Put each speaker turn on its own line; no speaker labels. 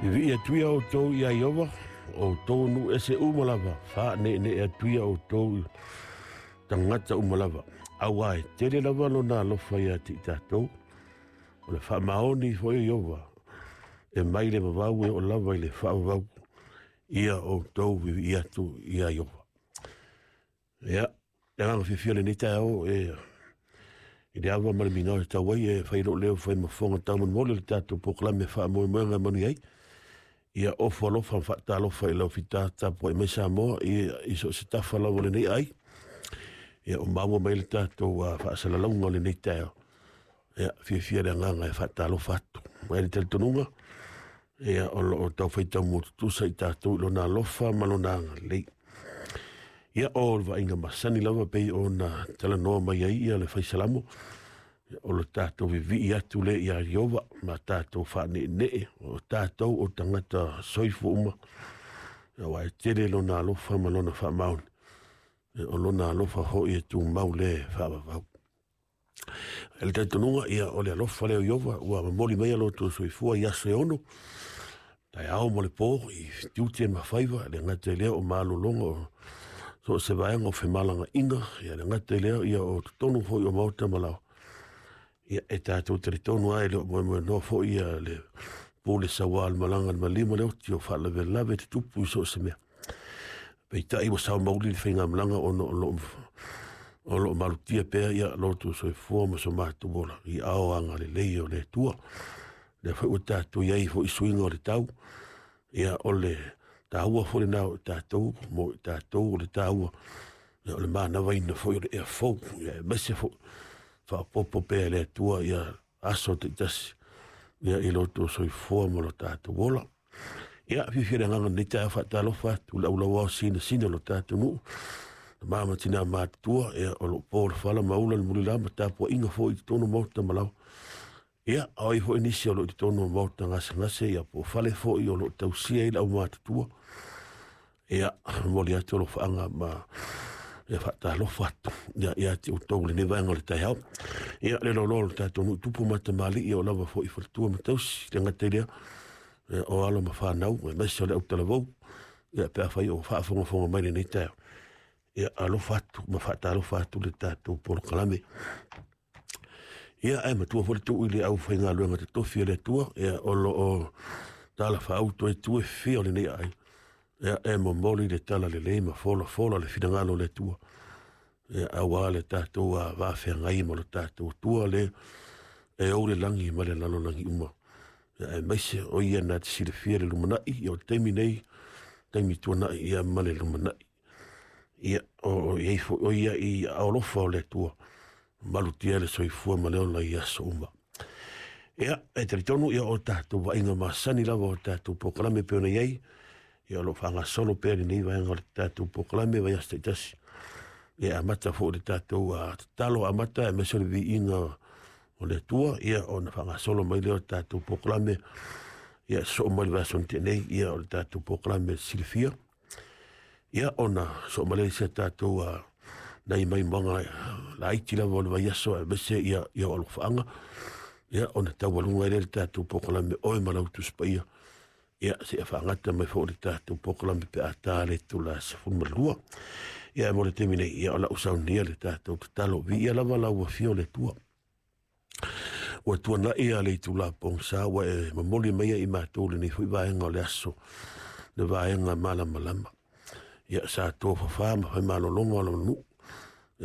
Vivii atu ia outou iā Ieova, o outou o nuu ese uma lava, faaneenee atu ia outou i tagata uma lava, auā e tele lava lona alofa ia te i tatou. O le faamaoni foi o Ieova, e mai le vavau e oo lava i le faavavau, ia outou vivii atu iā Ieova. Ia, le agaga fiafia o lenei taeao e i le ava ma le migao e tau ai e fai lou leo fai ma fofoga taumolimoli o le tatou polokalame faamoemoega e manuia ai. Ia ofo alofa ma faatalofa i lau fita tapuai mai Samoa i so o se tafa lava o lenei ai. Ia o maua mai le tatou faasalalauga o lenei taeao. Ia fiafia le agaga e faatalofa atu. Mai le talitonuga, ia o loo tau faitau tutusa i tatou i lona alofa ma lona agalelei. Ia o le vaaiga masani lava pei ona talanoa mai ai ia le faisalamo, o le tatou vivii atu le ia Ieova ma tatou faaneenee o tatou o tagata soifua uma, aua e tele lona alofa ma lona faamaoni, o lona alofa foi e tumau le faavavau. E le talitonuga, ia o le alofa lea o Ieova ua momoli mai lo outou soifua i aso e 6, taeao ma le po i tiute ma faiva, le gata i lea o malologa o so o se vaega o femalagaina, ia le gata i lea ia o totonu foi o maota ma laoa. Ia e tatou talitonu lava e le o moemoenoa foi ia le pule sauā o le malaga le malima le oti o faalavelave tutupu i so o se mea. Peitai ua sao mauli le faigamalaga ona o loo malutia pea ia lo outou soifua ma so matou ola i ao agalelei o le Atua. Lea foi ua tatou i ai foi suiga o le tau, ia o le taua foi lena o tatou, mo i tatou o le taua, ia o le manavaina foi o le ea fou, ia aemaise foi faaopoopo pea e le Atua ia aso taitasi ia i lo outou soifua ma lo tatou ola. Ia fiafia le agaga lenei taeao faatalofa atu i le aulauao sinasina o lo tatou nuu, tama ma tina matutua, ia o loo po le fala ma ula le mulila ma tapuaiga foi i totonu o maota ma laoa. Ia, o ai foi nisi o loo i totonu o maota gasegase, ia po o fale foi o loo tausia ai le aumatutua. Ia, momoli atu alofaaga ma ia faatalofa atu ia ia te outou i lenei vaega o le taeao. Ia le loaloa o le tatou nuu tupu ma tamalii o lava foi faletua ma tausi, le gata i lea, ia, o alo ma fanau, aemaise o le autalavou, ia pe afai o faafogafoga mai lenei taeao. Ia alofa atu ma faatalofa atu le tatou polokalame. Ia ae matua foi le tuu i le aufaigaluega totofi a le Atua, ia o loo talafaauto ai tu e fia o lenei ai. Ia e momoli le tala lelei ma folafola le finagalo o le Atua. Ia auā le tatou vafeagai ma lo tatou Atua le e ou le lagi ma le lalolagi uma. Ia aemaise o ia na te silafia le lumanai, ia o le taimi nei, taimi tuanai ia ma le lumanai. Ia o i ai foi o ia i alofa o le Atua, malutia le soifua ma le ola i aso uma. Ia, e talitonu ia o tatou vaaiga masani lava o tatou polokalame pei ona i ai, ia o lo o faagasolo pea lenei vaega o le tatou polokalame vaiaso taitasi. Ia amata foi le tatou tatalo amata aemaise o le viiga o le Atua, ia ona faagasolo mai lea o le tatou polokalame, ia sosoo mai le vaiaso na tea nei, ia o le tatou polokalame silafia. Ia ona sosoo mai lea i si a tatou nai maimoaga laiti lava o le vaiaso aemaise ia o alofaaga. Ia ona taualuga ai lea le tatou polokalame oe ma lau Tusi Paia. Ia seia faagata mai foi le tatou polokalame pe a ta le itula 12. Ia mo le taimi nei, ia o lau saunia le tatou tatalo, viia lava lau afio o le Atua. Ua tuanai ia le itula pogisa ua e momoli mai ai i matou lenei foi vaega o le aso, le vaega malamalama. Ia sa tofafā ma fai malologa o lona nuu.